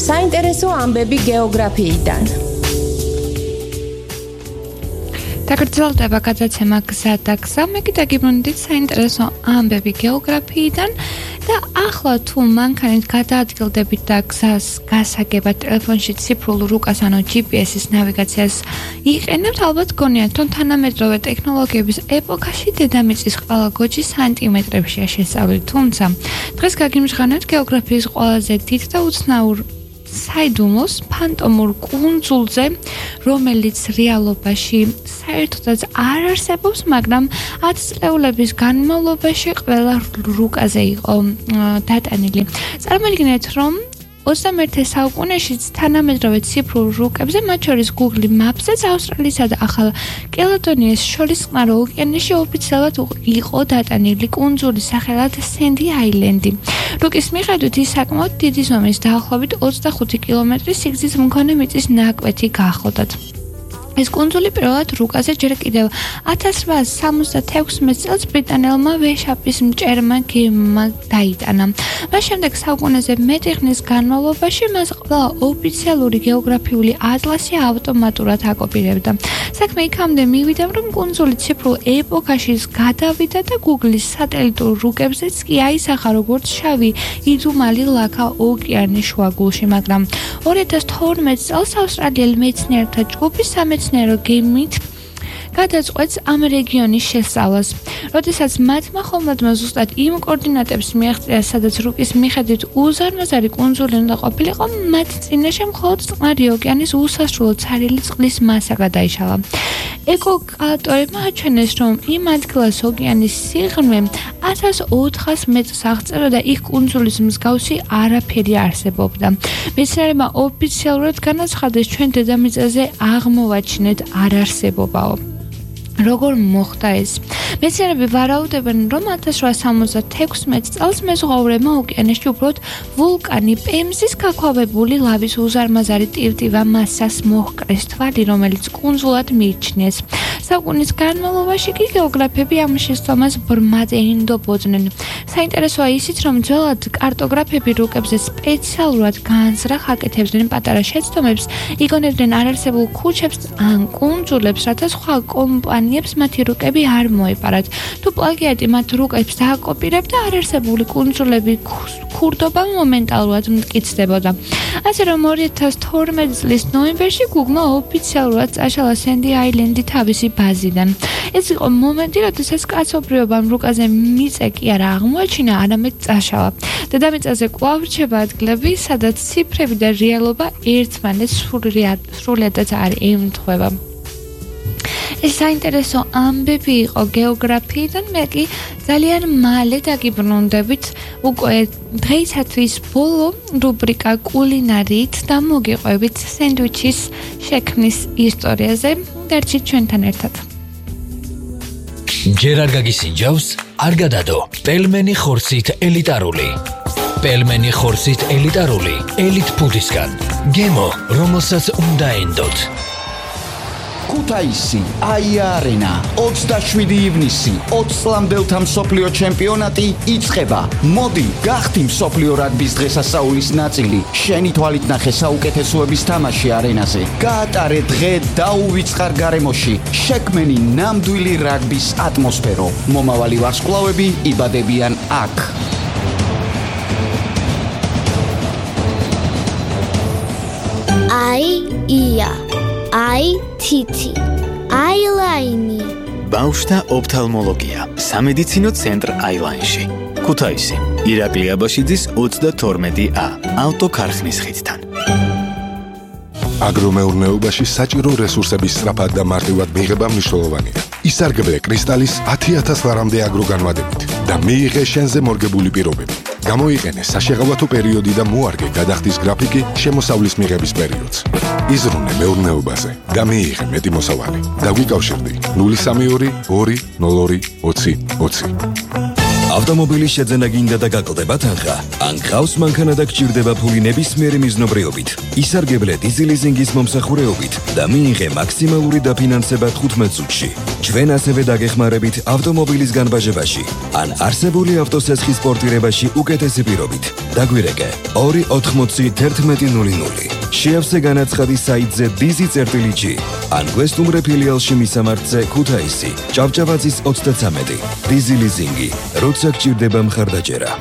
საინტერესო ამბები გეოგრაფიიდან. დაგრძელდება გადაცემა გზა და გზა. მე კიდე გიბრუნდით საინტერესო ამბები გეოგრაფიიდან და ახლა თუ მანქანით გადაადგილდებით და გზას გასაგებად ტელეფონში ციფრულ რუკას ანუ GPS-ის ნავიგაციას იყენებთ, ალბათ გონიათ, რომ თანამედროვე ტექნოლოგიების ეპოქაში დედამიწის ყველა გოჯი სანტიმეტრებშია შესწავლილი. თუმცა დღეს გაგიმჟღავნებთ გეოგრაფიის ყველაზე დიდ და უცნაურ საიდუმლოს ფანტომურ კუნძულზე, რომელიც რეალობაში საერთოდაც არ არსებობს, მაგრამ 10 წლეულების განმავლობაში ყველა რუკაზე იყო დატანილი. წარმოიდგინეთ, რომ 21 საუკუნეში თანამედროვე ციფრულ რუკებზე, მათ შორის Google Maps-ზე, ავსტრალიისა და ახალ კელედონიას შორის წყნარ ოკეანეში ოფიციალურად იყო დატანილი კუნძული სახელად Sandy Island. რუკის მიხედვით ის საკმაოდ დიდი ზომის დაახლოებით 25 კილომეტრის სიგრძის მქონე მიწის ნაკვეთი გახლდათ. ეს კუნძული პირველად რუკაზე ჯერ კიდევ 1876 წელს ბრიტანელმა ვეშაპის მჭერმა გემმა დაიტანა. მას შემდეგ საუკუნეზე მეტი ხნის განმავლობაში მას ყველა ოფიციალური გეოგრაფიული ატლასი ავტომატურად აკოპირებდა. საქმე იქამდე მივიდა, რომ კუნძული ციფრულ ეპოქაში გადავიდა და Google-ის სატელიტურ რუკებზეც კი აისახა როგორც შავი იდუმალი ლაქა ოკეანის შუაგულში, მაგრამ 2012 წელს ავსტრალიელ მეცნიერთა ჯგუფი სამეცნიერო გემით გადაწყვეტს ამ რეგიონის შესწავლას. როდესაც მათმა ხომლადმა ზუსტად იმ კოორდინატებს მიაღწია, სადაც რუკის მიხედვით უზარმაზარი კუნძული უნდა ყოფილიყო, მათ წინაშე მხოლოდ წყნარი ოკეანის უსასრულო ცარიელი წყლის მასა გადაიშალა. ეკოკალკულატორებმა აჩვენეს, რომ იმ ადგილას ოკეანის სიღრმე 1400 მეტრს აღწევდა და იქ კუნძულის მსგავსი არაფერი არსებობდა. მეცნიერებმა ოფიციალურად განაცხადეს, ჩვენ დედამიწაზე აღმოვაჩინეთ არარსებობაო. როგორ მოხდა ეს? მეცნიერები ვარაუდობენ, რომ 1876 წელს მეზღვაურებმა ოკეანეში უბრალოდ ვულკანი პემზის გაქვავებული ლავის უზარმაზარი ტივტივა მასას მოჰკრეს თვალი, რომელიც კუნძულად მიიჩნიეს. საუკუნის განმავლობაში კი გეოგრაფები ამ შესწავლას ბრმად ენდობოდნენ. საინტერესოა ისიც, რომ ძველად კარტოგრაფები რუკებზე სპეციალურად განზრახ აკეთებდნენ პატარა შეცდომებს, იგონებდნენ არარსებულ ქუჩებს ან კუნძულებს, რათა სხვა კომპანიებს მათი რუკები არ მოეპარათ. თუ პლაგიატი მათ რუკებს დააკოპირებდა, არარსებული კუნძულები ქურდობა მომენტალურად მტკიცდებოდა. ასე რომ 2012 წლის ნოემბერში Google-მა ოფიციალურად წაშალა Sandy Island-ი თავისი ბაზიდან. ეს იყო მომენტი, როდესაც კაცობრიობამ რუკაზე მიწა კი არა აღმოაჩინა, არამედ წაშალა. დედამიწაზე კვლავ რჩება ადგილები, სადაც ციფრები და რეალობა ერთმანეთს სრულიადად არ ემთხვევა. ეს საინტერესო ამბები იყო გეოგრაფიიდან, მე კი ძალიან მალე დაგიბრუნდებით უკვე დღეისათვის ბოლო რუბრიკა კულინარიით და მოგიყვებით სენდვიჩის შექმნის ისტორიაზე. დარჩით ჩვენთან ერთად. ჯერ არ გაგისინჯავს, არ გადადო. პელმენი ხორცით ელიტარული. პელმენი ხორცით ელიტარული, ელიტ ფუდისგან. გემო, რომელსაც უნდა ენდოთ. ქუთაისი, აია-არენა, 27 ივნისი, 20 წლამდელთა მსოფლიო ჩემპიონატი იწყება. მოდი, გახდი მსოფლიო რაგბის დღესასწაულის ნაწილი. შენი თვალით ნახე საუკეთესოების თამაში არენაზე. გაატარე დღე დაუვიწყარ გარემოში. შექმენი ნამდვილი რაგბის ატმოსფერო. მომავალი ვარსკვლავები იბადებიან აქ. ია აი თითი აილაინი ბავშვთა ოფთალმოლოგია სამედიცინო ცენტრ აილაინში ქუთაისი ირაკლი აბაშიძის 32A ავტოქარხნის ხიდთან აგრომეურნეობაში საჭირო რესურსების სწრაფად და მარტივად მიღება მნიშვნელოვანია. ისარგებლე კრისტალის 10,000 ლარამდე აგროგანვადებით და მიიღე შენზე მორგებული პირობები. გამოიყენე საშეღავათო პერიოდი და მოარგე გადახდის გრაფიკი შემოსავლის მიღების პერიოდს. იზრუნე მეურნეობაზე და მიიღე მეტი მოსავალი. დაგვიკავშირდი 032 202 20 20. ავტომობილის შეძენა გინდა და გაკლდება თანხა, ან გყავს მანქანა და გჭირდება ფული ნებისმიერი მიზნობრიობით. ისარგებლე დიზი ლიზინგის მომსახურეობით და მიიღე მაქსიმალური დაფინანსება 15 წუთში. ჩვენ ასევე დაგეხმარებით ავტომობილის განბაჟებაში, ან არსებული ავტოსესხის პორტირებაში უკეთესი პირობით. დაგვირეკე 2801100. შეავსე განაცხადი საიტზე dizi.g ან გვესტუმრე ფილიალში მისამართზე ქუთაისი, ჭავჭავაძის 33. დიზი ლიზინგი, როცა გჭირდება მხარდაჭერა.